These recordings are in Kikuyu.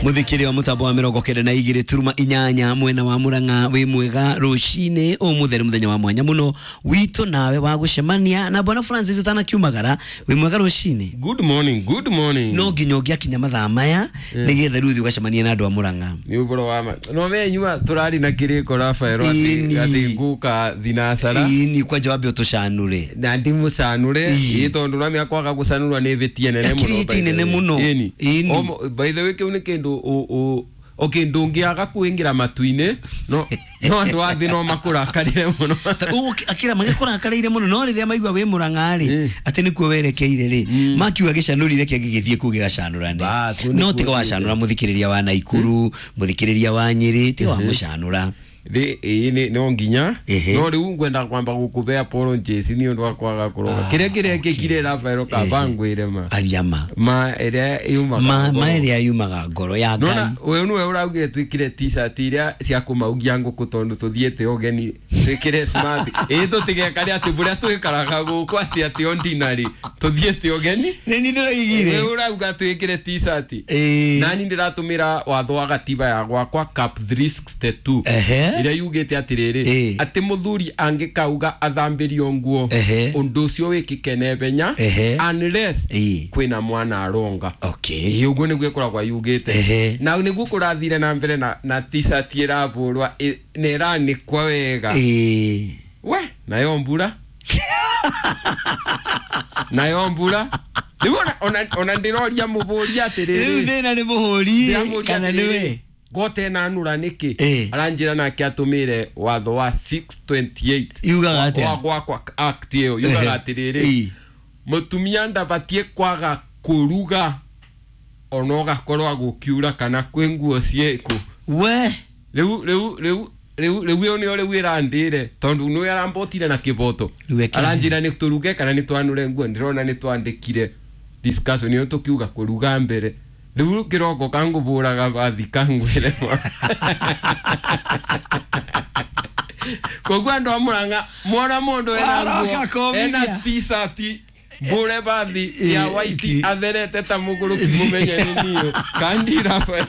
Muthikiri wa mutambo wa 92 turuma inyanya mwena wa Murang'a wi mwega rucini umutheri muthenya wa mwanya muno witu nawe wa gucemania na bwana Francis utanakiumagara wi mwega rucini. Good morning, good morning. No nginya ũngĩakinya mathaa maya nĩgetha rĩu ũthiĩ ũgacemanie na andũ a Murang'a. Nĩ ũhoro wa ma. No menyua tũrari na kĩrĩko Rafael atĩ atĩ ngũka thinacara. Ĩni kwanja wambe ũtũcanũre. Na ndimũcanũre ĩ tondũ ramia kwaga gũcanũra nĩ hĩtia nene mũno. Hĩtia nene mũno. Ĩni. By the way kĩu nĩ kĩndũ okay ndũngĩaga kwĩingĩra matu-inĩ no no andũ a thĩ no makũrakarĩre mũno. Akira magĩkũrakarĩire mũno no rĩrĩa maigua wĩ Murang'a rĩ atĩ nĩkuo werekeire rĩ makiuga gĩcanũrire kĩangĩ gĩthiĩ kũu gĩgacanũrane no tiga wacanũra mũthikĩrĩria wa Naikuru mũthikĩrĩria wa Nyĩrĩ tiga wamũcanũra. Thĩ ĩĩ no nginya no rĩu ngwenda kwamba gũkũbe apologies nĩ ũndũ wa kwaga kũroga kĩrĩa kĩrekĩkire Rafael kaba ngwĩre ma aria ma ma ĩrĩa yumaga ma ĩrĩa yumaga ngoro ya Ngai. Nona wewe nĩwe ũraugire twĩkĩre t-shirt iria cia kũmaugia ngũkũ tondũ tũthiĩte ũgeni twĩkĩre smart ĩĩ tũtigekare atĩ bũrĩa twĩkaraga gũkũ atĩ atĩ ordinary tũthiĩte ũgeni nĩ niĩ ndĩroigire wewe ũrauga twĩkĩre t-shirt nani ndĩratũmĩra watho wa gatiba ya gwakwa cap 362 ĩrĩa yugĩte atĩrĩrĩ atĩ mũthuri angĩkauga athambĩrio nguo ũndũ ũcio wĩkĩke naihenya unless kwĩna mwana aronga. Okay. Ũguo nĩguo ĩkoragwo yugĩte na nĩguo kũrathire na mbere na t-shirt ĩrabũrwa na ĩranĩkwa wega we nayo mbura nayo mbura rĩu ona ndĩroria mũbũri atĩrĩrĩ rĩu thĩna nĩ mũhũri kana nĩwe gote na nura niki aranjira nake atumire watho wa 628 yugaga atia wa gwakwa act iyo yugaga atiriri mutumia ndabatie kwaga kuruga ona ugakorwo agukiura kana kwĩ nguo ciĩku we rĩu rĩu rĩu rĩu rĩu ĩyo nĩyo rĩu ĩrandĩre tondũ nĩwe arambotire na kĩboto aranjĩra nĩ tũruge kana nĩ twanũre nguo ndĩrona nĩ twandĩkire discussion ĩyo tũkiuga kũruga mbere rĩu kĩroko kangũbũraga bathi kangwĩre koguo andũ a Murang'a mwona mũndũ ena nguo ena t-shirt mbũre bathi ya white atherete ta mũgũrũki mũmenye nĩ niĩ kandi Rafael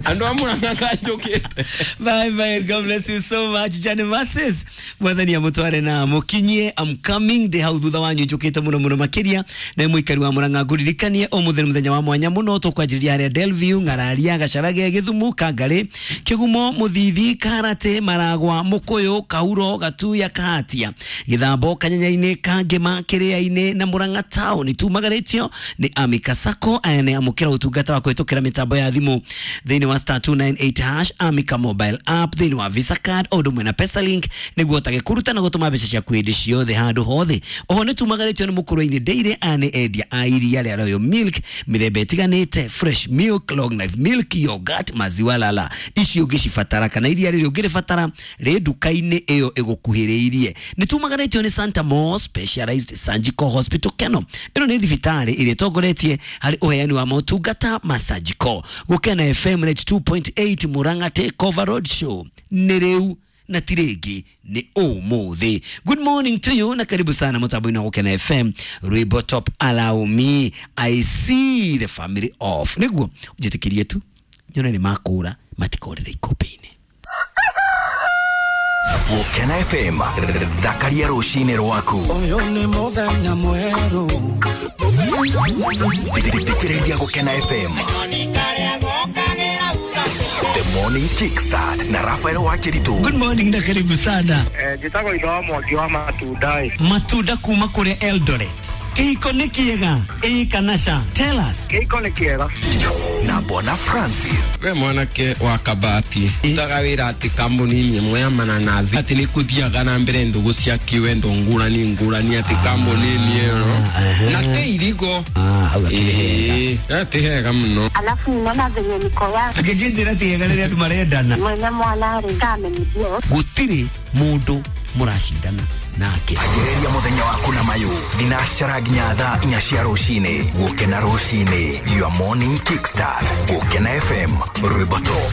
andũ a Murang'a kanjũkĩte. Bye bye, God bless you so much. Jane Masses mwathani amũtware na mũkinyie. I'm coming ndĩ hau thutha wanyu njũkĩte mũno mũno makĩria na mũikari wa Murang'a ngũririkanie ũmũthĩ nĩ mũthenya wa mwanya mũno tũkwanjĩrĩria harĩa Delview Ng'araria Gacarage Gĩthumu Kangarĩ Kĩgumo Mũthithi Karate Maragwa Mũkũyũ Kauro Gatuya Kahatia Gĩthambo Kanyanya-inĩ Kangema Kĩrĩa-inĩ na Murang'a town tumagarĩtio nĩ Amika Sacco aya nĩ amũkĩra ũtungata wa kũhĩtũkĩra mĩtambo ya thimũ thĩinĩ wa star 298 hash Amika mobile app thĩinĩ wa Visa card o ũndũ ũmwe na Pesalink nĩguo ũhotage kũruta na gũtũma mbeca ciaku hĩndĩ ciothe handũ hothe. Oho nĩ tumagarĩtio nĩ Mũkũrwe-inĩ Dairy aya nĩ endia a iria rĩa Royal Milk mĩthemba ĩtiganĩte fresh milk, long life milk, yogurt, maziwa lala ici ũngĩcibatara kana iria rĩrĩ ũngĩrĩbatara rĩ nduka-inĩ ĩyo ĩgũkuhĩrĩirie. Nĩ tumagarĩtio nĩ Santa Mo Specialized Surgical Hospital Keno ĩno nĩ thibitarĩ ĩrĩa ĩtongoretie harĩ ũheani wa motungata ma surgical. Gũkena FM 92.8 Murang'a Take Over Road Show nĩ rĩu na ti rĩngĩ nĩ ũmũthĩ. Good morning to you na karibu sana mũtambo-inĩ wa Gũkena FM rwĩmbo top allow me I see the family off nĩguo njĩtĩkĩrie tu nyone nĩ makũra matikorĩre ikũmbĩ-inĩ. Gũkena FM thakaria rũcinĩ rwaku. Ũyũ nĩ mũthenya mwerũ. Thikĩrĩria Gũkena FM The Morning Kickstart na Rafael Wakiritu. Good morning na karibu sana. Njĩtagwo Itho wa Mwangi wa matunda. Matunda kuma kũrĩa Eldoret. Kĩhiko nĩ kĩega ĩĩ kana ca? Tell us. Kĩhiko nĩ kĩega. Na Bwana Francis. We mwanake wa Kabati utaga wĩra atĩ kambuni-inĩ ĩmwe ya mananathi atĩ nĩ kũthiaga na mbere ndũgũ cia kĩwendo ngũrani ngũrani atĩ kambuni-inĩ ĩyo na te irigo ti hega mũno. Alafu ninaona venye niko ya Angĩkĩnjĩra ti hega rĩrĩa andũ marendana mwene mwana rĩ kamenithio gũtirĩ mũndũ mũracindana nake. Anjĩrĩria mũthenya waku na mayũ thinacara nginya thaa inya cia rũcinĩ. Gũkena rũcinĩ, your morning kickstart. Gũkena FM, rwĩmbo top.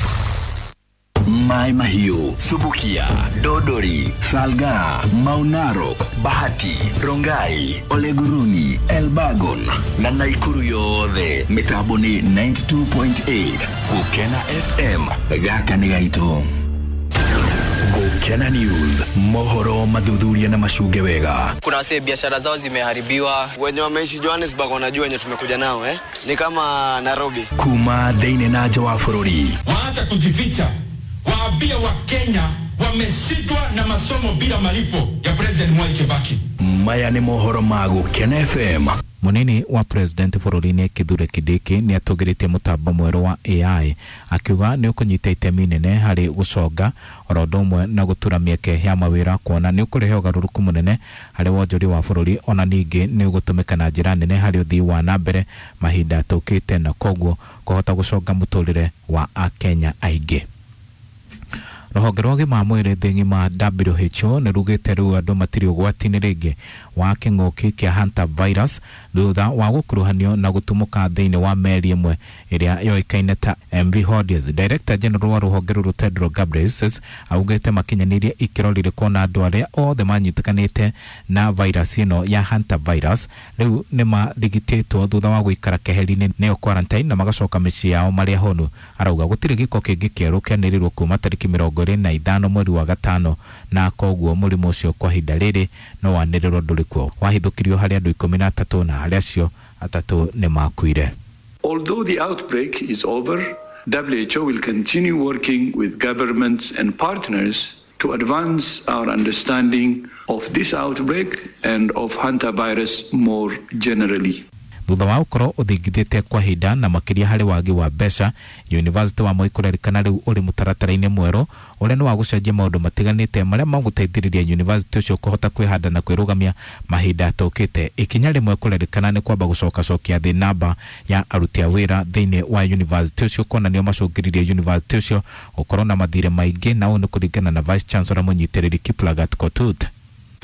Mai Mahiu, Subukia, Dodori, Salga, Maunarok, Bahati, Rongai, Oleguruni, Elbagon na Naikuru yothe mitambo ni 92.8 Gukena FM gaka nĩ gaitũ. Gukena News, mohoro mathuthuria na macunge wega. Kuna wase biashara zao zimeharibiwa. Wenye wameishi Johannesburg wanajua wenye tumekuja nao eh? Ni kama Nairobi. Kuma thĩinĩ na nja wa bũrũri. Waacha kujificha, waambie Wakenya wameshindwa na masomo bila malipo ya President Mwai Kibaki. Maya nĩ mohoro ma Gukena FM. Munini wa president bũrũri-inĩ Kithure Kindiki nĩ atũgĩrĩtie mũtambo mwerũ wa AI akiuga nĩ ũkũnyita itemi nene harĩ gũconga oro ũndũ ũmwe na gũtura mĩeke ya mawĩra kuona nĩ ũkũrehe ũgarũrũku mũnene harĩ wonjoria wa bũrũri ona ningĩ nĩ ũgũtũmĩka na njĩra nene harĩ ũthii wa na mbere mahinda tũkĩte na koguo kũhota gũconga mũtũrĩre wa Akenya aingĩ. Rũhonge rwa ũgima wa mwĩrĩ thĩ ng'ima WHO nĩ rugĩte rĩu andũ matirĩ ũgwati-inĩ rĩngĩ wa kĩng'ũki kĩa hantavirus thutha wa gũkuruhanio na gũtumũka thĩinĩ wa meri ĩmwe ĩrĩa yoĩkaine ta MV Hondius. Director General wa rũhonge rũrũ Tedros Ghebreyesus augĩte makinyanĩirie ikĩro rĩrĩkũ na andũ arĩa othe manyitĩkanĩte na virus ĩno ya hantavirus rĩu nĩ marigitĩtwo thutha wa gũikara keheri-inĩ nĩyo quarantine na magacoka mĩciĩ yao marĩ ahonu. Arauga gũtirĩ gĩko kĩngĩ kĩerũ kĩanĩrĩrwo kuma tarĩki 25 mweri wa gatano na koguo mũrimũ ũcio kwa ihinda rĩrĩ no wanĩrĩrwo ndũrĩ kuo. Wahithũkirio harĩ andũ 13 na harĩ acio atatũ nĩ makuire. Although the outbreak is over, WHO will continue working with governments and partners to advance our understanding of this outbreak and of hantavirus more generally. Thutha wa gũkorwo ũthingithĩte kwa ihinda na makĩria harĩ wagi wa mbeca, University wa Moi kũrerĩkana rĩu ũrĩ mũtaratara-inĩ mwerũ ũrĩa nĩ wa gũcenjia maũndũ matiganĩte marĩa magũteithĩrĩria university ũcio kũhota kwĩhanda na kwĩrũgamia mahinda tũkĩte. Ikinya rĩmwe kũrerĩkana nĩ kwamba gũcokacokia thĩ namba ya aruti a wĩra thĩinĩ wa university ũcio kuona nĩo macũngĩrĩirie university ũcio gũkorwo na mathirĩ maingĩ, na ũũ nĩ kũringana na Vice Chancellor mũnyitĩrĩri Kiplagat Kotut.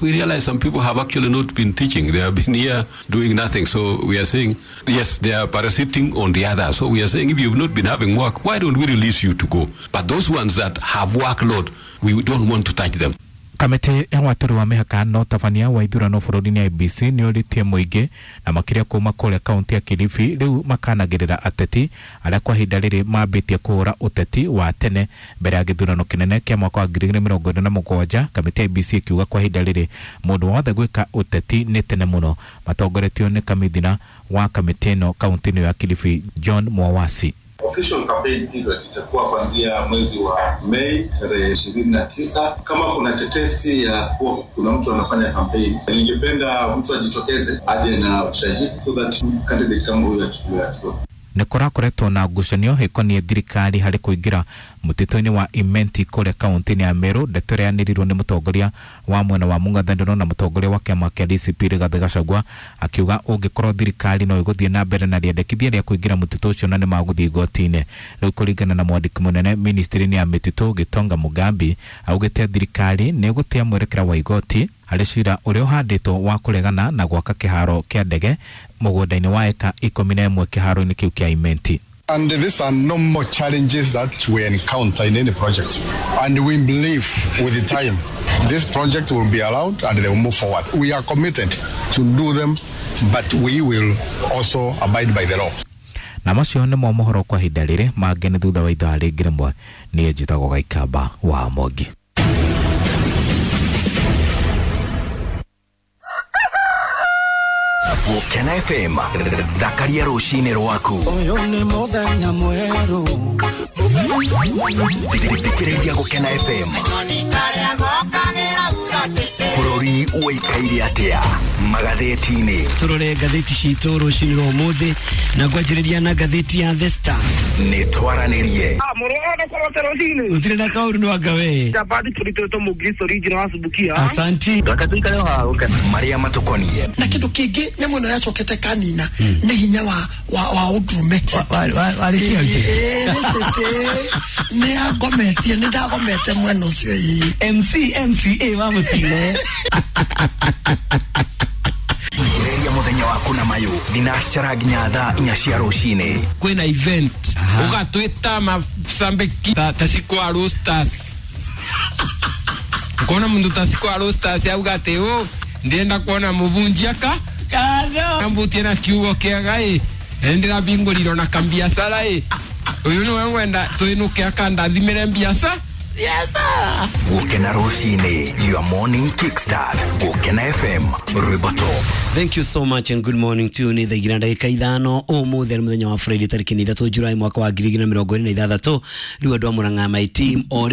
We realize some people have actually not been teaching. They have been here doing nothing. So we are saying, yes, they are parasiting on the others. So we are saying, if you've not been having work, why don't we release you to go? But those ones that have workload, we don't want to touch them. Kamĩtĩ ya watũri wa mĩhaka na ũtabania wa ithurano bũrũri-inĩ IEBC nĩ ũrĩtie mũingĩ na makĩria kuma kũrĩa kaunti ya Kilifi rĩu makanagĩrĩra ateti arĩa kwa ihinda rĩrĩ mambĩtie kũhũra ũteti wa tene mbere ya gĩthurano kĩnene kĩa mwaka wa 2027. Kamĩtĩ ya IEBC ĩkiuga kwa ihinda rĩrĩ mũndũ wothe gwĩka ũteti nĩ tene mũno. Matongoretio nĩ kamithina wa kamĩtĩ ĩno kaunti-inĩ ya Kilifi John Mwawasi. Official campaign period itakuwa kuanzia mwezi wa Mei tarehe 29. Kama kuna tetesi ya kuwa kuna mtu anafanya campaign, ningependa mtu ajitokeze aje na ushahidi so that candidate kama huyo achukuliwe hatua. Nĩ kũrakoretwo na ngucanio ĩkoniĩ thirikari harĩ kũingĩra mũtitũ-inĩ wa Imenti kũrĩa kaunti-inĩ ya Meru. Ndeto ĩrĩa yanĩrĩirwo nĩ mũtongoria wa mwena wa mũng'ethanĩro na mũtongoria wa kĩama kĩa DCP Rigathĩ Gachagua akiuga ũngĩkorwo thirikari no ĩgũthiĩ na mbere na rĩendekithia rĩa kũingĩra mũtitũ ũcio na nĩ magũthiĩ igoti-inĩ. Rĩu kũringana na mwandĩki mũnene ministry-inĩ ya mĩtitũ Gitonga Mugambi augĩte thirikari nĩ ĩgũtĩa mwerekera wa igoti harĩ cira ũrĩa ũhandĩtwo wa kũregana na gwaka kĩharo kĩa ndege mũgũnda-inĩ wa eka 11 kĩharo-inĩ kĩu kĩa Imenti. And these are normal challenges that we encounter in any project. And we believe with the time, this project will be allowed and they will move forward. We are committed to do them, but we will also abide by the law. Na macio nĩmo mohoro kwa ihinda rĩrĩ, mangĩ nĩ thutha wa ithaa rĩngĩ rĩmwe. Niĩ njĩtagwo Gaikamba wa Mwangi. Gukena FM thakaria rũcinĩ rwaku. Ũyũ nĩ mũthenya mwerũ. Thikĩrĩria Gukena FM. Bũrũri ũikaire atĩa magathĩti-inĩ? Tũrore ngathĩti citũ rũcinĩ rwa ũmũthĩ na ngwanjĩrĩria na ngathĩti ya The Star. Nĩ twaranĩrie. Gũtirĩ na kaũru nĩ wanga we. Asanti. Marĩa matũkoniĩ na kĩndũ kĩngĩ nyamũ ĩno yacokete kanina nĩ hinya wa ũndũrũme. Nĩ yangometie, nĩ ndagomete mwena ũcio. MC MCA wa mũtino. Thikĩrĩria mũthenya waku na mayũ thinacara nginya thaa 4 cia rũcinĩ. Kwĩna event Ugatwita macambĩki ta cikwa roasters. Ukona mundu ta cikwa roasters auga atĩ ũ ndĩrenda kuona mũbunjia ka ambutie na kiugo kĩega ĩ ndĩrabingũrirwo na kambiacara ĩ ũyũ nĩwe ngwenda twĩnũke akandathimĩre mbiaca. Gukena rucini, your morning kickstart. Gukena FM, rwimbo top. Thank you so much and good morning to you. Nĩ thaa igĩrĩ na ndagĩka 5 ũmũthĩ arĩ mũthenya wa Friday tarĩki nĩ 3 Julai mwaka wa 2026. Rĩu andũ a Murang'a, my team o.